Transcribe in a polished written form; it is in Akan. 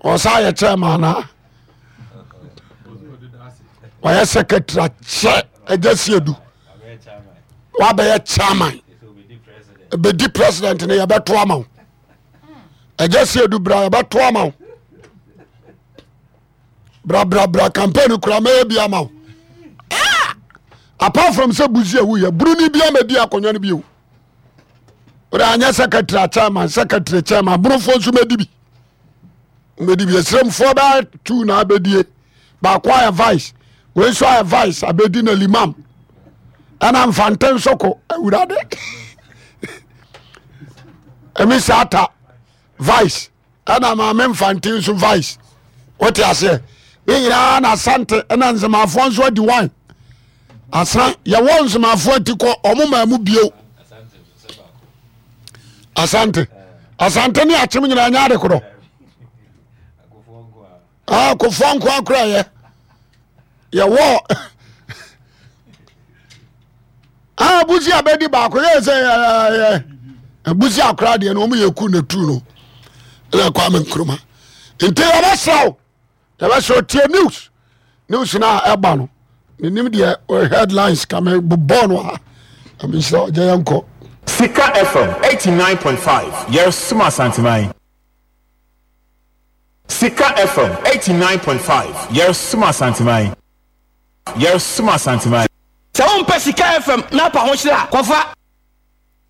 Ɔsa yɛ chairman anaa ɔyɛ secretary akyɛ agya siedu wabɛyɛ chairman bɛdi president no yɛbɛto ama wo agya siedu bra yɛbɛto ama wo brabrabra campaign kora mɛyɛ bi ama wo ah! Apart from sɛ buzi a wuyɛ buroni bi ama di akonnwa no bio. Wode anyɛ secretary chairman, secretary chairman, burofoɔ nso mɛdi bi, mɛdi bi. Ɛsrɛmfoɔ bɛyɛ tu na abɛdie, baako ayɛ vice, wei nso ayɛ vice abɛdi na limam ɛna mfante nso ko awurade ɛmi saa ta vice ɛna maame mfante nso vice. Wote aseɛ? Ne nyinaa na asante ɛna nzemafoɔ nso adi wan asa yɛwɔ nzemafoɔ ati kɔ ɔmo maa mu bio. Asante, asante ne akyem nyinaa nyɛ ade korɔ. Ah, kofoɔ nko akora yɛ yɛwɔ. Ah, busi abɛdi baako yɛ sɛ yɛ busi akora deɛ no wɔn yɛ ku na tu no ɛna Kwame Nkrumah. Nti yɛbɛsrɛ wo, yɛbɛsrɛ wo, tie news, news no a ɛba no menim deɛ headlines ka me bobɔɔ no a ɛmenhyerɛ ɔgya yɛnkɔ. Sika FM 89.5 Yɛresom Asanteman. Sika FM 89.5 Yɛresom Asanteman. Yɛresom Asanteman. Sɛ wompɛ Sika FM na apa ho hyerɛ a, kɔfa.